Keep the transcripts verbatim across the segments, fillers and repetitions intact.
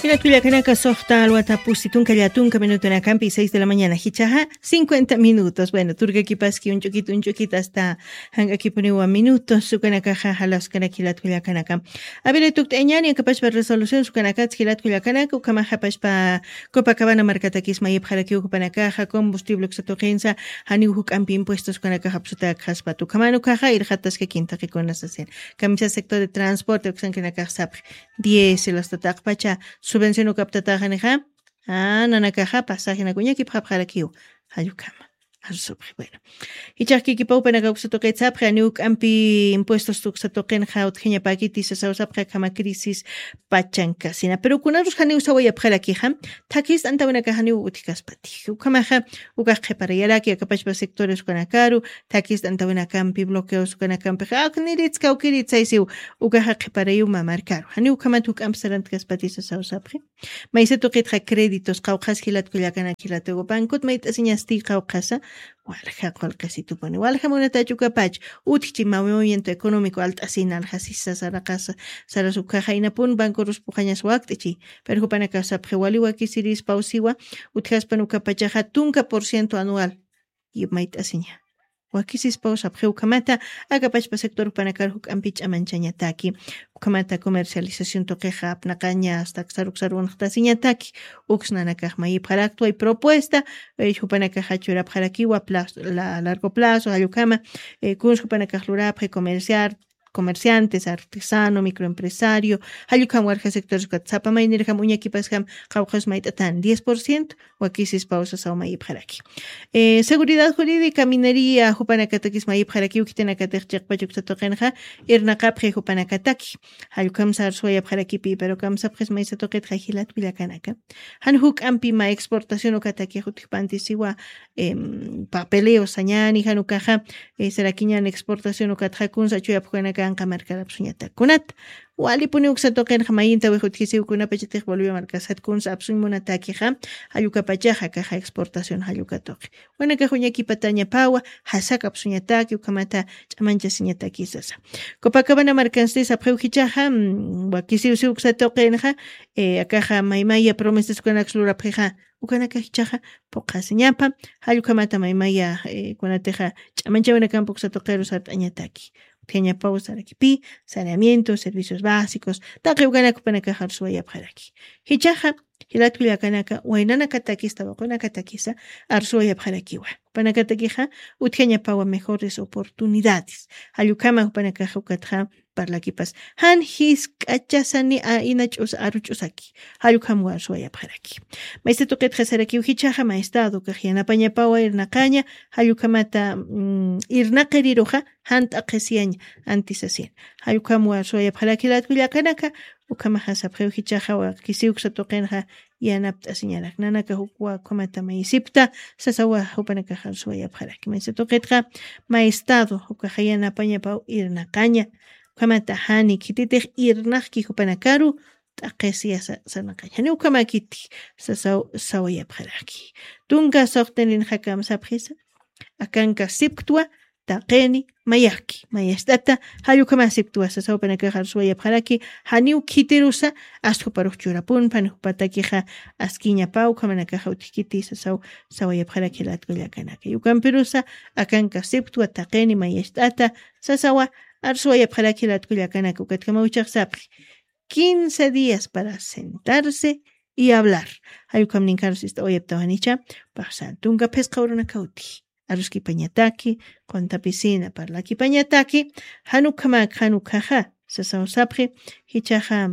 Jilat kullakanaka, suxta alwata pusi tunka llatunka minutunakampi, seis de la mañana jichaxa cincuenta minutos. Bueno, turkakipaski un ch'ukita un ch'ukita hasta jank'akipuniwa minutos ukanakaxa jalaskanaki jilat kullakanaka. Avele tukt'añani akapashpa resolución ukanakatsi jilat kullakanaka, ukhamaxapashpa Copacabana markatakis mayipxarakiw jupanakaxa combustible uksa tuqinsa, janiw juk'ampi impuestos ukanakaxa apsutakxaspat ukhaman ukaxa irxataskakin taqikuna sasin. Kamisa sector de transporte uksankinakax sapxi, diésel hasta taqpacha subvención ukaptataxanixa, nanakaxa pasajenak uñakipxapxarakiw. Jallukama arsupxi. Bueno, jichax kikipawpanaka uksa tuqit sapxi, janiw juk'ampi impuestos uksa tuqinxa utjañapakiti sasaw sapxi, akhama crisis pachankasina, pero kunarus janiw sawayapxarakixa, thakist'antawinakax janiw utjkaspati. Ukhamaxa ukax qhiparayaraki akapachpa sectores ukanakaru, thakist'antawinakampi bloqueos ukanakampixa akniritskawkirit saysiw. Ukaxa qhiparayiw mamarkaru, janiw ukhamat juk'ampi sarantkaspati sasaw sapxi. Maysa tuqitxa créditos qawqhas jilat kullakanaka jilatugu bankut mayt'asiñasti qawqhasa, walja qullqisitupuni walja munatach ukapach utjchi movimiento económico alt'asina aljasisa saraqasa. Saras ukaxa inapun bankurus puqañas wakt'ichi. Pero jupanakax sapxi wali wakisiris pawsiwa, utjaspan ukapachaxa tunka por ciento anual mayt'asiña. Wakisispaw sapxi ukhamata akapachpa sector jupanakar juk'ampi ch'amanchañataki. Ukhamata comercialización tuqixa apnaqaña hasta aksaruksaruwanxtasiñataki. Uksnanakax mayipxaraktwa y propuesta jupanakaxa churapxarakiwa plazo, largo plazo jallukhama. Kuns jupanakax lurapxi comerciar, comerciantes, artesano, microempresario, jallukham warja sectores ukat sapa maynirjam uñakipaskam qawqhas mayt'atan diez por ciento wakisispaw sasaw mayipxaraki. Seguridad jurídica, minería jupanakatakis mayipxarakiw khitinakatix chiqpach uksa tuqinxa irnaqapxi jupanakataki. Jallukhamsa arsuwayapxarakipi pero kamsapxis maysa tuqitxa jilat kullakanaka, jan juk'ampi ma exportación ukatakix utjpantisiwa. Papeleo sañani jan ukaxa sarakiñan exportación ukatxa kunsa chuyapxukanaka anqa markarapsuñatak kunat. Walipuni uksa tuqinxa mayintawix utjisiw kunapachatix bolivia markasat kunsa apsuñ munatakixa. Jallukapachaxa kaxa exportación jalluka tuqi wanakax uñakipatañapawa. Jasakapsuñataki ukhamata ch'amanchasiñataki sasa. Copacabana markansti sapxiw jichaxa wakisiwsiw uksa tuqinxa akaxa maymaya promesas ukanaks lurapxixa ukanaka jichaxa puqasiñapa. Jallukhamata maymaya kunatixa ch'amanchawinakampa uksa tuqiru sart'añataki. Utjañapaw sarakipi saneamiento servicios básicos taqi ukanak jupanakaxa arsuwayapxaraki. Jichaxa jilat kullakanaka waynanakatakis tawaqunakatakisa arsuwayapxarakiwa. Jupanakatakixa utjañapawa mejores oportunidades. Jallukhama jupanakaxa ukatxa parlakipas jan jisk'achasani a ina ch'usa aru ch'usaki. Jallukhamwa arsuwayapxaraki. Maysa tuqitxa sarakiw jichaxa maestado kax yanapañapawa irnaqaña. Jallukhamata irnaqiriruxa jan t'aqhisiyaña antisasin. Jallukhamwa arsuwayapxaraki jilat kullakanaka. Ukhamaxa sapxiw jichaxa wakisiw uksa tuqinxa yanapt'asiñarak nanaka jukwa ukhamata mayisipta sasawa jupanakaxa arsuwayapxaraki maysa tuqitxa maestado ukaxa yanapañapaw irnaqaña. Ukhamata jani khititix irnaqki jupanakaru t'aqhisiya sarnaqaña jani ukhamakiti sasaw sawayapxaraki. Tunka suxtinrinxakam sapxisa akanka sipktwa taqini mayaki mayast'ata. Jallukama sipktwa sasaw panakaxa arsuwayapxaraki janiw khitirusa. Astkuparux churapun panakupatakixa askiñapaw ukhamanakaxa utjkiti sasaw sawayapxaraki jilat kullakanaka yukampirusa akanka sipktwa taqini mayast'ata sasawa arsuwayapxaraki jilat kullakanaka ukatkamawchax sapxi quince días para sentarse y hablar. Jallukam ninkarus ist'awayaptawanicha paxsan tunka phisqa urunakawti aruskipañataki quntapisina parlakipañataki. Janukhamak janukhaxa sasaw sapxi jichaxa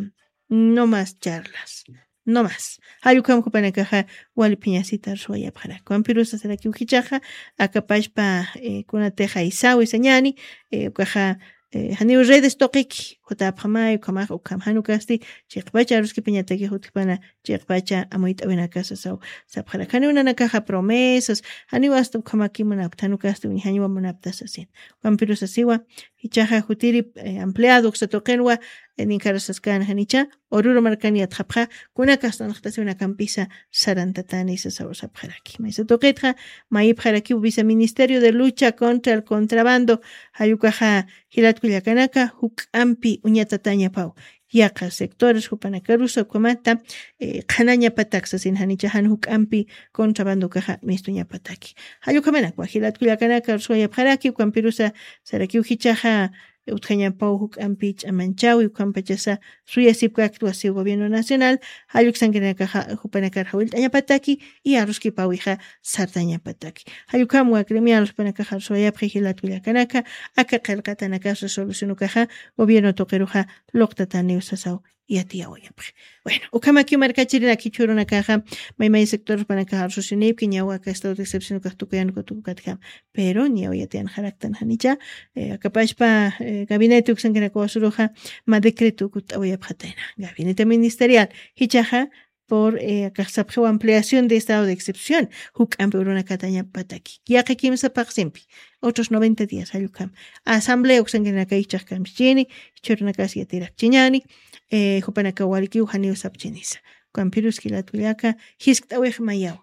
no mas charlas no mas. Jallukam jupanakaxa waliphiñasita arsuwayapxarak wampirusa sarakiw jichaxa akapashpa kunatixa isawi sañani ukaxa janiw redes tuqiki jutapxamay ukhamax ukham janukasti chiqpacha aruskipañatakix utjpana chiqpacha amuyt'awinakasa saw sapxarak janiw nanakaxa promesas janiw asta ukhamaki munapta janukasti uñjañwa munapta sasin. Ukampirusasiwa jichaxa jutiri ampliado uksa tuqinwa ninkarasaskan janicha ururu markan yatxapxa kunakastan jtasiwinakampisa sarantatani sasaw sapxaraki maysa tuqitxa mayipxarakiw viceministerio de lucha contra el contrabando. Jallukaxa jilatkullakanaka juk'ampi uñatatañapaw yaqa sectores jupanakarusa ukhamata, eh, qhanañapatak sasin janicha jan juk'ampi contrabandokaxa mistuñapataki. Jallukhamanakwa jilatkullakanaka rusuwayapxaraki, ukhampirusa sarakiw jichaxa utjañapaw juk'ampi ch'amanchawi, ukhampachasa suyasipkakta wasiw gobierno nacional, jalluksankirinakaxa jupanakar jawillt'añapataki, y aruskipawixa sartañapataki. Jallukhamwa gremial jupanakaxa rusuwayapxi jilatkullakanaka, aka qillqatanakax resolucionukaxa gobierno tuqiruxa luqtataniw sasaw yatiyawayapxi. Bueno, ukhamakiw markachirinak jichhürunakaxa, maymay sector jupanakaxa rususinipki, ñaw aka estado de excepción ukax tukuyan kutukukatjam. Pero ñaw yatiyan jaraktan janicha, eh, akapashpa, eh, gabinete uksankinaka wasuruxa, ma decreto kut'awayapxatayna. Gabinete ministerial, jichaxa, por, eh, akax sapxiw ampliación de estado de excepción, juk'ampi urunakatañapataki. Yaqi kimsa paqsimpi, otros noventa días, jallukham. Asamblea uksankinaka ichaxkamchini, jichhürunakas yatirakchiñani, eh, jupanaka walikiw janiw sapchinisa. Ukhampirus jilatkullaka, jiskt'awix mayaw.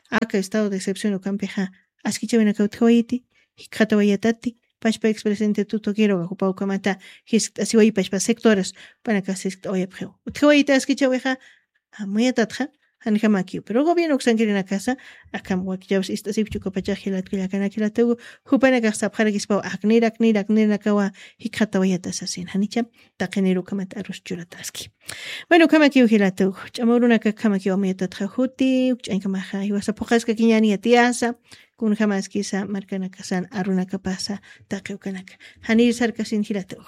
Aka estado de excepción ukhampixa, askichawinaka utjawayiti, jikxatawayatati, pachpa expresidente Tuto Quiroga, jupa ukhamata jiskt'asiwayi pachpa sectores, jupanaka jiskt'awayapxiw. Utjawayiti askichawixa, amuyatatxa, janjamakiw. Pero gobierno uksankirinakasa, akham wakichawis ist'asipchi ukapachax jilatkullakanaka jilatugu, jupanakax sapxarakispaw, aknir, aknir, aknirnakawa, jikxatawayata sasin. Janicha, taqinir ukhamat arus churataski. Bueno, ukhamakiw jilatugu, ch'ama urunaka ukhamakiw amuyatatxa juti, uk ch'añkamaxa, jiwasa phuqaskakiñani yatiyasa, kunjamaskisa markanakasan arunakapasa taqi ukanaka. Janir sarkasin jilatugu.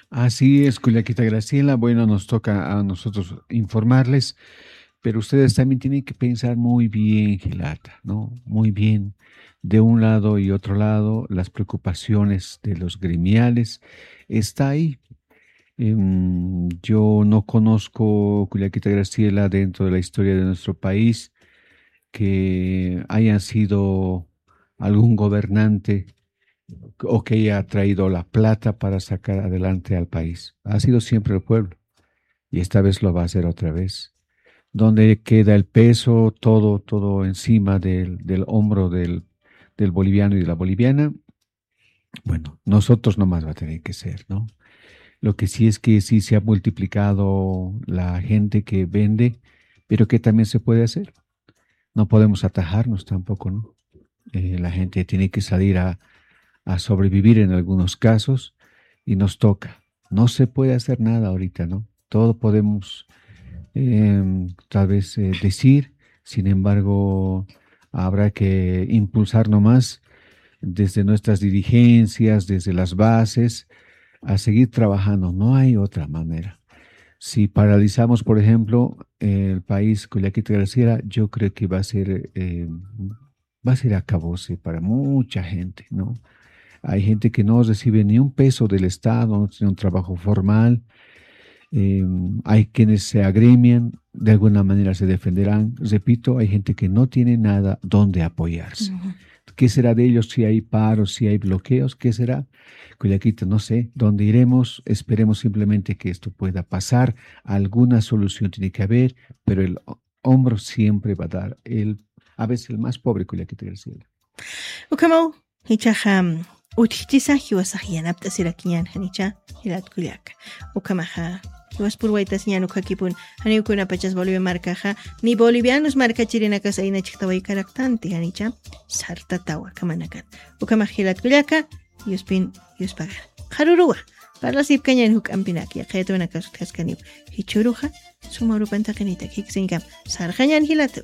Así es, kullakita Graciela. Bueno, nos toca a nosotros informarles, pero ustedes también tienen que pensar muy bien, jilata, ¿no? Muy bien. De un lado y otro lado, las preocupaciones de los gremiales está ahí. Em, yo no conozco, kullakita Graciela, dentro de la historia de nuestro país, que haya sido algún gobernante o que haya traído la plata para sacar adelante al país. Ha sido siempre el pueblo. Y esta vez lo va a hacer otra vez. Donde queda el peso, todo, todo encima del, del hombro del, del boliviano y de la boliviana. Bueno, nosotros nomás va a tener que ser, ¿no? Lo que sí es que sí se ha multiplicado la gente que vende, pero que también se puede hacer. No podemos atajarnos tampoco, ¿no? Eh, la gente tiene que salir a, a sobrevivir en algunos casos y nos toca. No se puede hacer nada ahorita, ¿no? Todo podemos, em, tal vez, eh, decir, sin embargo, habrá que impulsar nomás desde nuestras dirigencias, desde las bases, a seguir trabajando. No hay otra manera. Si paralizamos, por ejemplo, el país, Cullaquita Graciela, yo creo que va a ser, eh, va a ser acabose para mucha gente, ¿no? Hay gente que no recibe ni un peso del Estado, no tiene un trabajo formal. Eh, hay quienes se agremian, de alguna manera se defenderán. Repito, hay gente que no tiene nada donde apoyarse. Ujú. ¿Qué será de ellos si hay paros, si hay bloqueos? ¿Qué será? Cullaquita, no sé dónde iremos. Esperemos simplemente que esto pueda pasar. Alguna solución tiene que haber, pero el hombro siempre va a dar el, a veces el más pobre, Cullaquita Graciela. Ukhamaw, jichhaxa, utjchisa jiwasax yanapt'asirakiñän janicha, jilat Cullaca. Ukhamaxa, jiwas purwaytasiñän ukkhakipun, janiw kunapachas Bolivia markaxa, ni bolivianos markachirinakas ayna chhijtawaykaraktanti janicha, sartatawa kamanakat. Ukhamax jilat Cullaca, yuspin, yuspagar. Qharuruwa, parlasipkañän juk'ampinak, yaqhayatunakas utjaskaniw. Jichhüruxa, suma urupan taqinitak jiksiñkam, sarxañän jilatu.